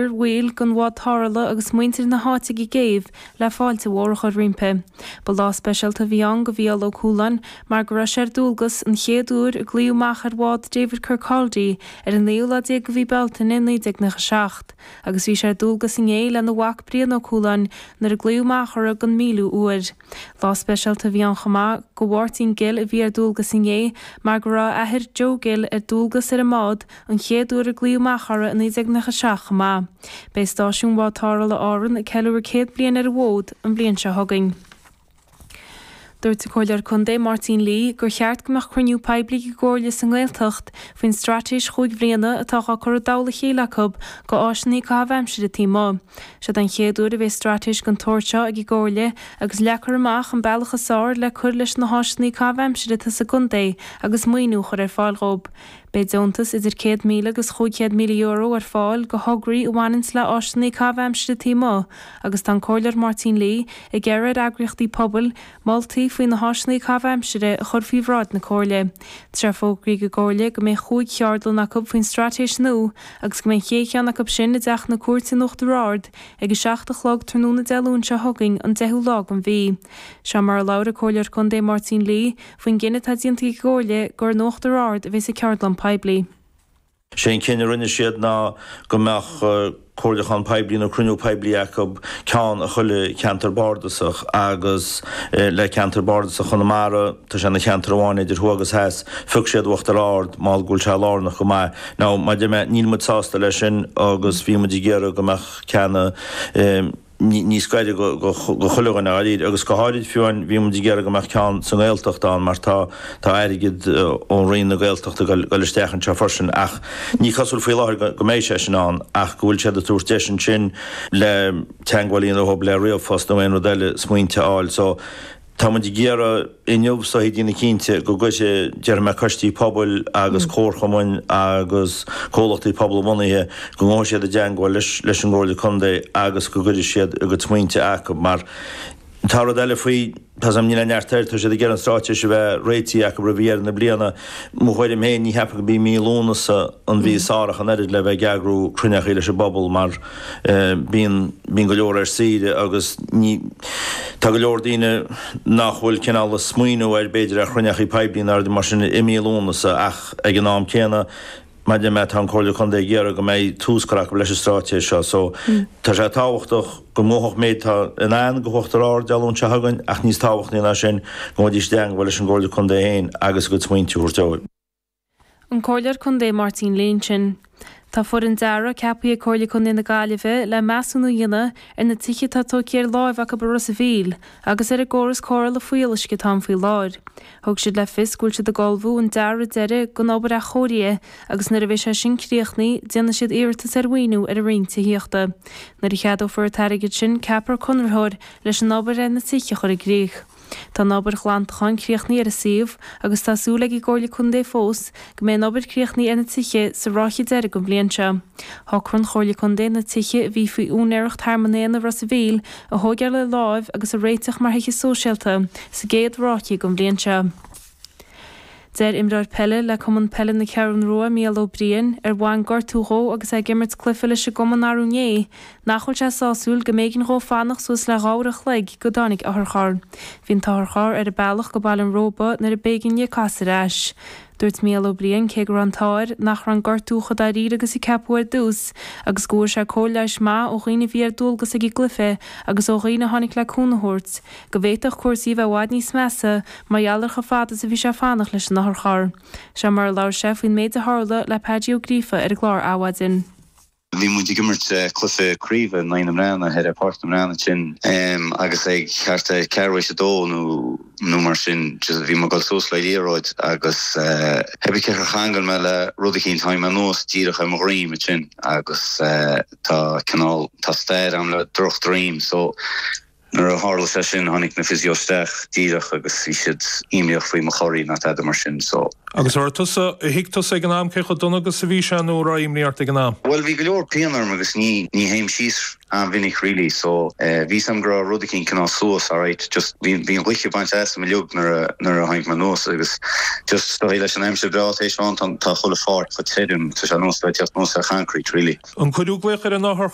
Bhaill den bhád tarrthála agus muintir na háite ag an gcéibh le fáilte mhór a chur roimpi. Ba lá speisialta a bhí ann do Mhícheál Ó Cualáin mar go raibh sé ar dualgas an chéad uair a glaodh amach ar bhád David Kirkcaldy ar an naoú lá déag de mhí Bealtaine 1997 agus bhí sé ar dualgas inné lena mhac Brian Ó Cualáin nuair a glaodh amach orthu don míliú uair. Lá speisialta a bhí ann chomh maith do Mháirtín Gill a bhí ar dualgas inné mar go raibh a athair Joe Gill ar dualgas ar an mbád an chéad uair a glaodh amach orthu i 1997 chomh maith. Beidh stáisiún Bhád Tarrthála Árann ag ceiliúradh 100 bliain ar an bhfód an bhliain seo chugainn. Dúirt an Comhairleoir Contae Máirtín Lee gur cheart go mbeadh cruinniú poiblí ag an gComhairle sa nGaeltacht faoin straitéis chúig bhliana atá á cur i dtoll a chéile acu go áiseanna caitheamh aimsire taobh amuigh. Seod é an chéad uair a bheidh straitéis den tsórt seo ag an gComhairle agus leagfar amach an bealach is fearr le cur leis na háiseanna caitheamh aimsire atá sa gcontae agus maoiniú a chur ar fáil dhóibh. Beidh deontas idir €100,000 agus €500,000 ar fáil go thograí a bhaineanns le áiseanna caitheamh aimsire taobh amuigh agus tá an Comhairleoir Máirtín Lee ag iarraidh ar eagraíochtaí pobail moltaí faoi na háiseanna caitheamh aimsire a chur faoi bhráid na Comhairle. Tá sé fógraithe ag an gComhairle go mbeidh chúig cheardlann acu faoin straitéis nua agus go mbeidh an chéad cheann acu sin i dTeach na Cúirte in Uachtar Ard ag 7 a chlog tráthnóna Dé Luain seo chugainn an 10ú lá den mhí. Seo mar a labhair an Comhairleoir Contae Máirtín Lee faoin gcinneadh atá déanta ag an gComhairle gur in Uachtar Ard a bheas an ceardlann poiblí. Sé an cinneadh a rinne siad ná go mbeadh comhairliúchán poiblí nó cruinniú poiblí acu, ceann i chuile cheantar bardasach agus le ceantar bardasach Chonamara, tá sé ina cheantar amháin idir thuaidh agus theas, phioc siad Uachtar Ard mar go bhfuil sé lárnach go maith. Now, mar a deir mé, níl muid sásta leis sin agus bhí muid ag iarraidh go mbeadh ceann i. níos gaire go chuile dhuine dháiríre agus go háirid fiú amháin bhí muid ag iarraidh go mbeadh ceann sa nGaeltacht ann mar tá tá airgead ón Roinn na Gaeltachta ag dul isteach anseo freisin ach ní cosúil faoi láthair go mbeidh sé sin ann ach go bhfuil siad ag tabhairt deis ansin le teagmháil a dhéanamh leo le ríomhphost nó aon rud eile smaointe a fháil so Tá muid ag iarraidh inniu is dóichí déanamh cinnte go gcuirfidh, déarfaidh mé, coistí pobail agus comharchumainn agus comhlachtaí pobalbhunaithe, go ngabhfaidh siad i dteangmháil leis leis an gComhairle Contae agus go gcuirfidh siad a gcuid smaointe acu mar tá rud eile faoi, tá 's agam, níl aon neart air, tá siad ag iarraidh an straitéis a bheith réitithe acu roimh dheireadh na bliana. Mo thuairim féin, ní cheapaim gurb í mí Lúnasa an mhí is fearr ach an oiread le bheith ag eagrú cruinneachaí leis an bpobal mar Bíonn, bíonn go leor ar saoire agus ní, tá go leor daoine nach bhfuil cineál ag smaoineamh ar, b'fhéidir, ar chruinneachaí poiblí nó rudaí mar sin i mí Lúnasa ach ag an am céanna, mar a deir mé, tá an Comhairle Contae ag iarraidh go mbeidh tús curtha acu leis an straitéis seo so tá sé tábhachtach go ngabhfadh méid atá in ann go hUachtar Ard Dé Luain seo chugainn ach níos tábhachtaí ná sin go ngabhfaidís i dteangmháil leis an gComhairle Contae féin agus a gcuid smaointe a thabhairt dóibh. An Comhairleoir Contae Máirtín Lee ansin. Tá foireann dearaidh ceaptha ag Comhairle Contae na Gaillimhe le measúnú a dhéanamh ar na tithe atá tógtha ar láimh acu i Ros a' Mhíl agus ar an gcóras cóireála fuíolluisce atá ann faoi láthair. Thug siad le fios go bhfuil siad ag ullmhú an dearadh deiridh don obair athchóirithe agus nuair a bheidh sé sin críochnaithe déanfaidh siad iarratas ar mhaoiniú ar an Roinn Tithíochta. Nuair a cheadófar an t-airgead sin ceapfar conraitheoir leis an obair ar na tithe a chur i gcrích. Tá an obair ghlantacháin críochnaithe ar an suíomh agus tá súil ag an gComhairle Contae fós go mbeidh an obair críochnaithe ar na tithe sa ráithe deiridh den bhliain seo. Shocraigh an Chomhairle Contae na tithe a bhí faoi úinéireacht Thearmann Éanna Ros a' Mhíl a thóigeáil ar láimh agus a réiteach mar thithe sóisialta sa gcéad ráithe den bhliain seo. Deir imreoir peile le Cumann Peile na Ceathrún Rua, Mícheál Ó Briain, ar bhain gortú dhó agus é ag imirt cluiche leis an gcumann arú inné, nach bhfuil sé sásúil go mb'éigean dhó fanacht suas le 2 uair an chloig go dtáinig otharcharr. Bhí an t-otharcharr ar a bealach go Baile an Róba nuair a b'éigean dhe casadh ar ais. Dúirt Mícheál Ó Briain cé go raibh an t-ádh air nach raibh an gortú chomh dáiríre agus a ceapadh ar dtús agus go bhfuair sé cóir leighis maith ó dhaoine a bhí ar dualgas ag an gcluiche agus ó dhaoine a tháinig le cúnamh a thabhairt, go bhféadfadh cúrsaí a bheith i bhfad níos measa mar gheall ar chomh fada is a bhí sé ag fanacht leis an otharcharr. Seo mar a labhair sé faoin méid a tharla le Peaidí Ó Gríofa ar an gclár Adhmhaidin. Bhí muid ag imirt cluiche craoibhe in aghaidh na mBreathnaigh ar Pháirc na mBreathnach ansin agus ag thart ar ceathrú éis a dó nó nó mar sin just bhí mé ag dul suas le liathróid agus cibé cé char cheangail mé le rud eicínt tháinig mé anuas díreach ar mo dhroim ansin agus tá cineál tá stair agam le drochdroim so. Nuair a tharla sé sin tháinig na physio isteach díreach agus bhí siad imníoch faoi mo chorraí ná tada mar sin so. Agus an raibh tusa, thuig tusa ag an am cé chomh dona agus a bhí sé nó an raibh imní ort ag an am? Bhuel bhí go leor pian orm agus ní ní théim síos an-mhinic really so bhí fhios a'm go raibh rud eicínt cineál suas alright just bhí bhí an ghaoth ag baint asam uilig nuair a nuair a tháinig mé anuas agus just is dóigh leis an aimsir breá tar éis bheith ann tá tá chuile pháirc chomh tirim tá sé ar nós bheith ag teacht anuas ar choincreít really. An cuireadh glaoch ar an othar?